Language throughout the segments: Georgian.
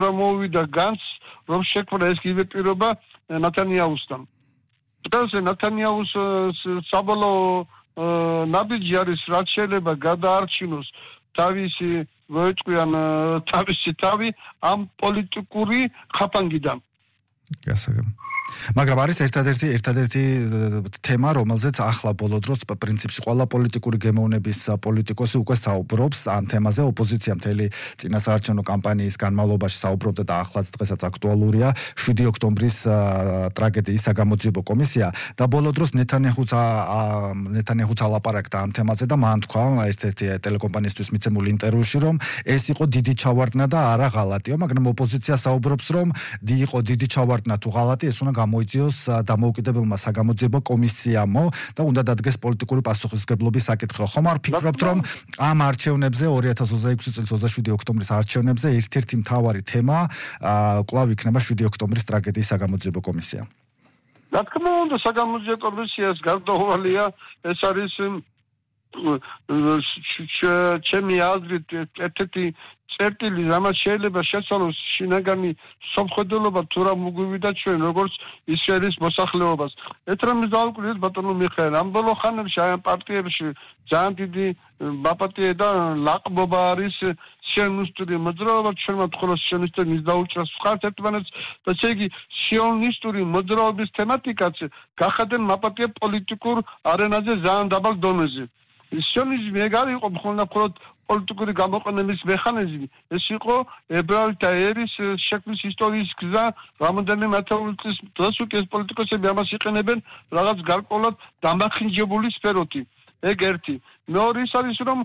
პირობა მოვიდა განს, რომ შექმნა ეს იგივე პირობა ნათანიაუსთან. დღეს ნათანიაუს საბოლოო ნაბიჯი არის, რაც შეიძლება გადაარჩინოს თავისი მოეწყვიან თავისი თავი ამ პოლიტიკური ხაფანგიდან. გასაგებია. მაგრამ არის ერთადერთი თემა, რომელზეც ახლა ბოლო დროს პრინციპში ყველა პოლიტიკური გემოვნების პოლიტიკოსი უკვე საუბრობს ამ თემაზე. ოპოზიცია მთელი წინასაარჩევნო კამპანიის განმავლობაში საუბრობდა და ახლაც დღესაც აქტუალურია 7 ოქტომბრის ტრაგედიის საგამოძიებო კომისია და ბოლო დროს ნეთანიაჰუს ალაპარაკდა ამ თემაზე და მან თქვა ერთ-ერთი ტელეკომპანიისთვის მიცემულ ინტერვიუში, რომ ეს იყო დიდი ჩავარდნა და არა ღალატიო, მაგრამ ოპოზიცია საუბრობს, რომ იყო დიდი ჩავარდნა თუ ღალატი, ეს უნდა გამოიწვიოს დამოუკიდებელმა საგამოძიებო კომისიამო და უნდა დადგეს პოლიტიკური პასუხისმგებლობის საკითხი. ხომ არ ფიქრობთ, რომ ამ არჩევნებზე 2026 წლის 27 ოქტომბრის არჩევნებზე ერთ-ერთი მთავარი თემა კვლავ იქნება 7 ოქტომბრის ტრაგედიის საგამოძიებო კომისია? რა თქმა უნდა, საგამოძიებო კომისიას გარდაუვალია, ეს არის ჩემი აზრით ერთ-ერთი წერტილი, რამაც შეიძლება შეცვალოს შინაგანი სამხედროობა თუ რა მოგვივიდა ჩვენ როგორც ისრაელის მოსახლეობას. ეთრემის დავუკვირდით ბატონო მიხეილ, ამ ბოლო ხანებში აი ამ პარტიებში ძალიან დიდი ბაპატია და ლაყბობა არის სიონისტური მოძრაობა, ჩვენმა მხოლოდ სიონისტები დაუჭრას მხარს ერთმანეთს და ესე იგი სიონისტური მოძრაობის თემატიკაც გახადენ მაპატია პოლიტიკურ არენაზე ძალიან დაბალ დონეზე. სიონიზმი ეგ არ იყო მხოლოდ პოლიტიკური გამოყენების მექანიზმი, ეს იყო ებრაელთა ერის შექმნის ისტორიის გზა, რამოდენიმე ათეული წლის დღეს უკვე ეს პოლიტიკოსები ამას იყენებენ რაღაც გარკვეულად დამახინჯებული სფეროთი. ეგ ერთი. მეორე ის არის, რომ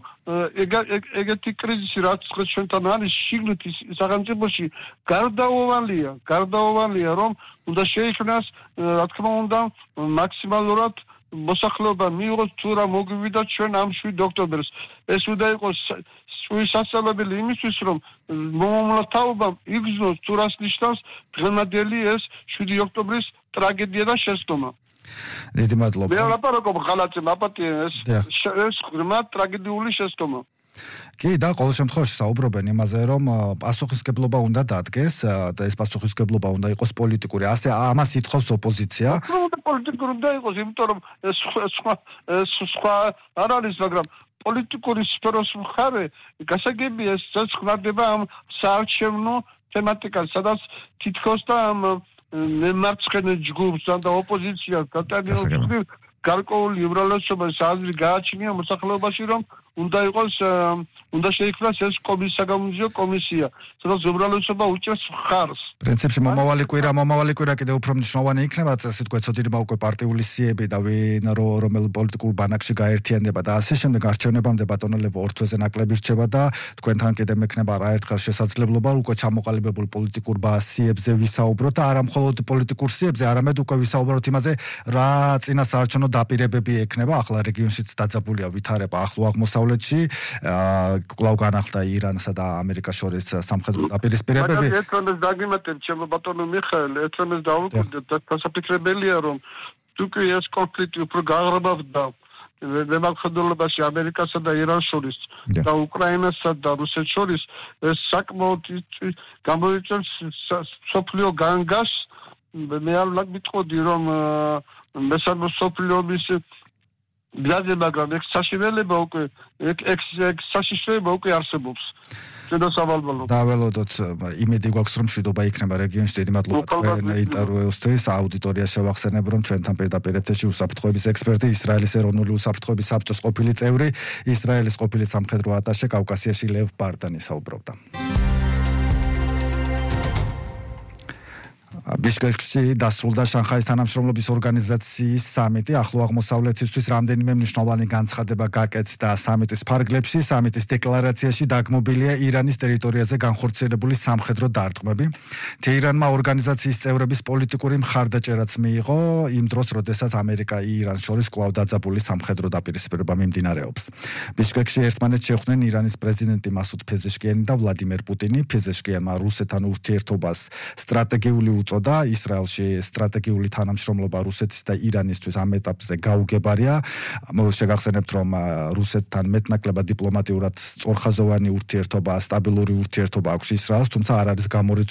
ეგეთი კრიზისი, რაც ჩვენთან არის შიგნით სახელმწიფოში, გარდაუვალია, რომ უნდა შეიქმნას, რა თქმა უნდა, მაქსიმალურად მოსახლეობა მიიღოს თუ რა მოგვივიდა ჩვენ ამ 7 ოქტომბერს. ეს უნდა იყოს სასწავლებელი იმისთვის, რომ მომავალთაობამ იგრძნოს თუ რას ნიშნავს დღევანდელი ეს 7 ოქტომბრის ტრაგედია და შესტომა. დიდი მადლობა. მე ვლაპარაკობ ღალატზე, მაპატია ეს ღრმა ტრაგედიული შესტომა. კი, და ყოველ შემთხვევაში საუბრობენ იმაზე, რომ პასუხისმგებლობა უნდა დადგეს და ეს პასუხისმგებლობა უნდა იყოს პოლიტიკური. ასე ამას ითხოვს ოპოზიცია. პოლიტიკური უნდა იყოს, იმიტომ რომ ეს სხვა არ არის, მაგრამ პოლიტიკური სფეროს მხარე გასაგებია ეს ხმარდება ამ საარჩევნო თემატიკას, სადაც თითქოს და ამ მემარცხენე ჯგუფს და ოპოზიციას გადაადგილოს გარკვეული უმრავლესობის აზრი გააჩნია მოსახლეობაში, რომ უნდა შეიქმნას ეს საგამოძიებო კომისია, სადაც უმრავლესობა უჭერს მხარს. პრინციპში მომავალი კვირა კიდევ უფრო მნიშვნელოვანი იქნება, წესით გვეცოდინება უკვე პარტიული სიები და ვინ რომელ პოლიტიკურ ბანაკში გაერთიანდება და ასე შემდეგ არჩევნებამდე ბატონო ლევო ორ თვეზე ნაკლები რჩება და თქვენთან კიდევ მექნება არაერთხელ შესაძლებლობა უკვე ჩამოყალიბებულ პოლიტიკურ სიებზე ვისაუბროთ და არა მხოლოდ პოლიტიკურ სიებზე, არამედ უკვე ვისაუბროთ იმაზე, რა წინასაარჩევნო დაპირებები ექნება. ახლა რეგიონშიც დაძაბულია ვითარება ახლო აღმოსავლეთში, კვლავ განახლდა ირანსა და ამერიკას შორის სამხედრო დაპირისპირებები. მაგალითად, ერთმანეთს დაგიმატებ, ჩემო ბატონო მიხეილ, ერთმანეთს დავუკვირდეთ და დასაფიქრებელია, რომ თუკი ეს კონფლიქტი უფრო გაღრმავდა მემარცხენეობაში ამერიკასა და irans შორის და უკრაინასა და რუსეთს შორის, ეს საკმაოდ გამოიწვევს სოფლიო განგას. მე არ მიტყოდი, რომ მესამე სოფლიო ომის გზაზე, მაგრამ ეს საშინელება უკვე საშიშროება უკვე არსებობს. დაველოდოთ, იმედი გვაქვს, რომ მშვიდობა იქნება რეგიონში. დიდი მადლობა თქვენ ინტერვიუსთვის. აუდიტორიას შევახსენებ, რომ ჩვენთან პირდაპირ ეთერში უსაფრთხოების ექსპერტი, ისრაელის ეროვნული უსაფრთხოების საბჭოს ყოფილი წევრი, ისრაელის ყოფილი სამხედრო ატაშე კავკასიაში ლევ ბარდანი საუბრობდა. ბიშკეკში დასრულდა შანხაის თანამშრომლობის ორგანიზაციის სამიტი. ახლო აღმოსავლეთისთვის რამდენიმე მნიშვნელოვანი განცხადება გაკეთდა სამიტის ფარგლებში. სამიტის დეკლარაციაში დაგმობილია ირანის ტერიტორიაზე განხორციელებული სამხედრო დარტყმები. თეირანმა ორგანიზაციის წევრების პოლიტიკური მხარდაჭერაც მიიღო იმ დროს, როდესაც ამერიკა-ირანს შორის კვლავ დაძაბული სამხედრო დაპირისპირება მიმდინარეობს. ბიშკეკში ერთმანეთს შეხვდნენ ირანის პრეზიდენტი მასუდ ფეზეშკიანი და ვლადიმერ პუტინი. ფეზეშკიანმა რუსეთთან ურთიერთობას სტრატეგიული უწოდა. ისრაელში სტრატეგიული თანამშრომლობა რუსეთის და ირანისთვის ამ ეტაპზე გაუგებარია. შეგახსენებთ, რომ რუსეთთან მეტნაკლებად დიპლომატიურად სწორხაზოვანი ურთიერთობა, სტაბილური ურთიერთობა აქვს ისრაელს, თუმცა არ არის გამორიცხული